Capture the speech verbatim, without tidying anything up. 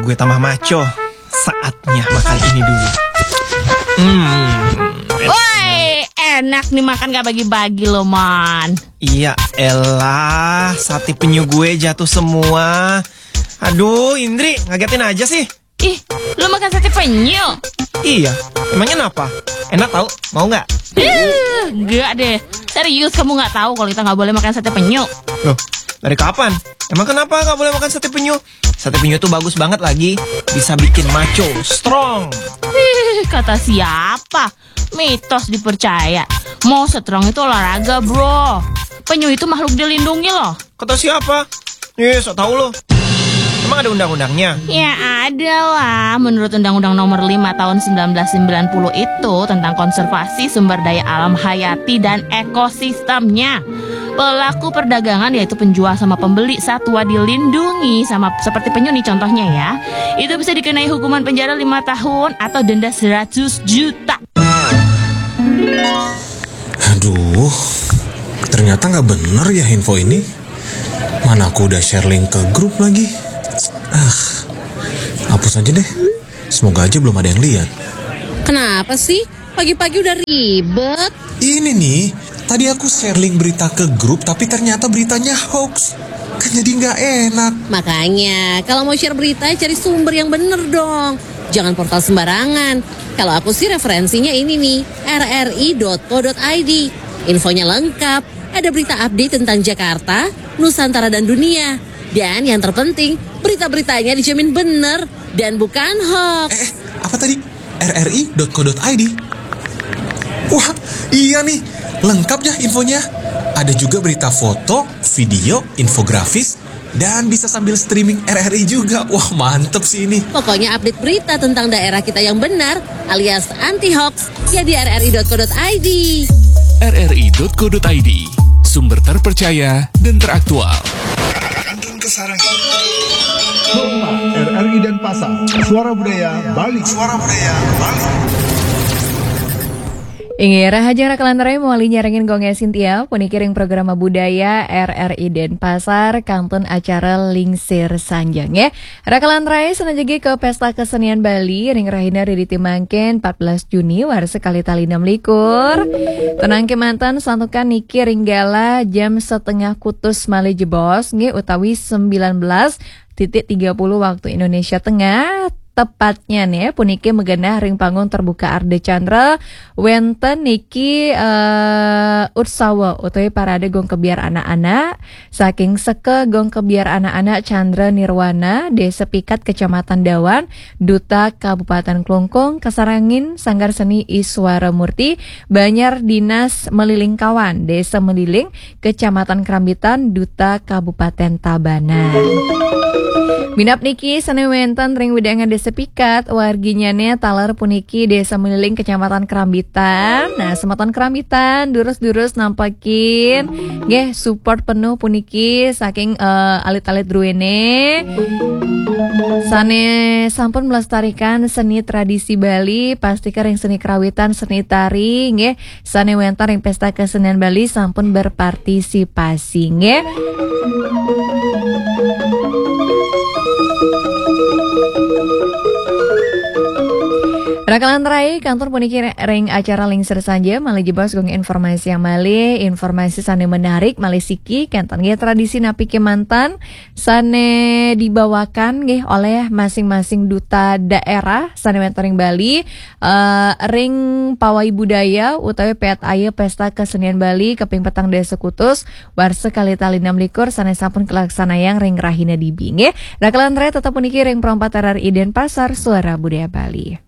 Gue tambah maco. Saatnya makan ini dulu. Hmm. Woi, enak nih makan gak bagi-bagi loh, Man. Iya elah, sate penyu gue jatuh semua. Aduh, Indri, ngagetin aja sih. Ih, lu makan sate penyu? Iya, emangnya kenapa? Enak tau, mau nggak? Ih, gak deh. Serius, kamu nggak tahu kalau kita nggak boleh makan sate penyu? Loh, dari kapan? Emang kenapa nggak boleh makan sate penyu? Sate penyu tuh bagus banget lagi, bisa bikin maco, strong. Ih, kata siapa? Mitos dipercaya. Mau strong itu olahraga, bro. Penyu itu makhluk dilindungi loh. Kata siapa? Ih, sok tahu lo. Emang ada undang-undangnya? Ya ada lah, menurut Undang-Undang Nomor lima Tahun sembilan belas sembilan puluh itu tentang konservasi sumber daya alam hayati dan ekosistemnya. Pelaku perdagangan, yaitu penjual sama pembeli satwa dilindungi sama seperti penyu nih contohnya ya. Itu bisa dikenai hukuman penjara lima tahun atau denda seratus juta. Aduh, ternyata nggak bener ya info ini. Mana aku udah share link ke grup lagi. Ah, hapus aja deh. Semoga aja belum ada yang lihat. Kenapa sih? Pagi-pagi udah ribet. Ini nih, tadi aku share link berita ke grup tapi ternyata beritanya hoax. Kan jadi nggak enak. Makanya, kalau mau share berita, cari sumber yang bener dong. Jangan portal sembarangan. Kalau aku sih referensinya ini nih, rri.co.id. Infonya lengkap, ada berita update tentang Jakarta, Nusantara dan dunia. Dan yang terpenting, berita-beritanya dijamin bener dan bukan hoax. Eh, apa tadi? rri.co.id. Wah, iya nih, lengkap ya infonya. Ada juga berita foto, video, infografis, dan bisa sambil streaming R R I juga. Wah, mantep sih ini. Pokoknya update berita tentang daerah kita yang benar alias anti hoax ya di rri.co.id. rri.co.id, sumber terpercaya dan teraktual. Kantun Kesarangan. Rumah R R I Denpasar, Suara Budaya Bali. Suara Budaya Bali. Inggih, rahajeng raka lan rai, mawali nyarengin Gung Sintia, puniki ring programa budaya R R I Denpasar, kantun acara Lingsir Sanjang, ya. Raka lan rai, sanajeng ke Pesta Kesenian Bali ring rahina ririti mangkin, empat belas Juni warsa kalih tali enam likur. Tenang kemanten, santukan niki ring galah jam setengah kutus malih jebos, nggih, utawi sembilan belas titik tiga puluh waktu Indonesia Tengah. Tepatnya nih, puniki magenah ring panggung terbuka Ardha Candra, wenten niki eh, utsawa utawi parade Gung Kebyar anak-anak saking Seka Gung Kebyar anak-anak Candra Nirwana, Desa Pikat, Kecamatan Dawan, Duta Kabupaten Klungkung, kasarengin Sanggar Seni Iswara Murti, Banjar Dinas Melilingkawan, Desa Meliling, Kecamatan Krambitan, Duta Kabupaten Tabanan. Minab niki sane wenten ring wewidangan Desa Pikat, warginyane taler puniki Desa Meliling, Kecamatan Krambitan. Nah, semeton Krambitan, durus-durus nampakin nggih support penuh puniki saking eh, alit-alit druene. Sane sampun melestarikan seni tradisi Bali, pastika ring seni kerawitan, seni tari, nggih. Sane wenten ring Pesta Kesenian Bali sampun berpartisipasi, nggih. Raka lan rai, kantun puniki ring acara Lingsir Sanja, malih jebos Gung informasi yang malih, informasi sane menarik, malih siki, kenten nggih tradisi napi kemanten, sane dibawakan nggih oleh masing-masing duta daerah sane wenten ring Bali, eh, ring pawai budaya utawi P T A Y Pesta Kesenian Bali kaping petang dasa kutus, warsa kalih tali enam likur sane sampun kalaksanayang ring rahina dibi nggih. Raka lan rai tetep puniki ring Pro empat R R I Denpasar, Suara Budaya Bali.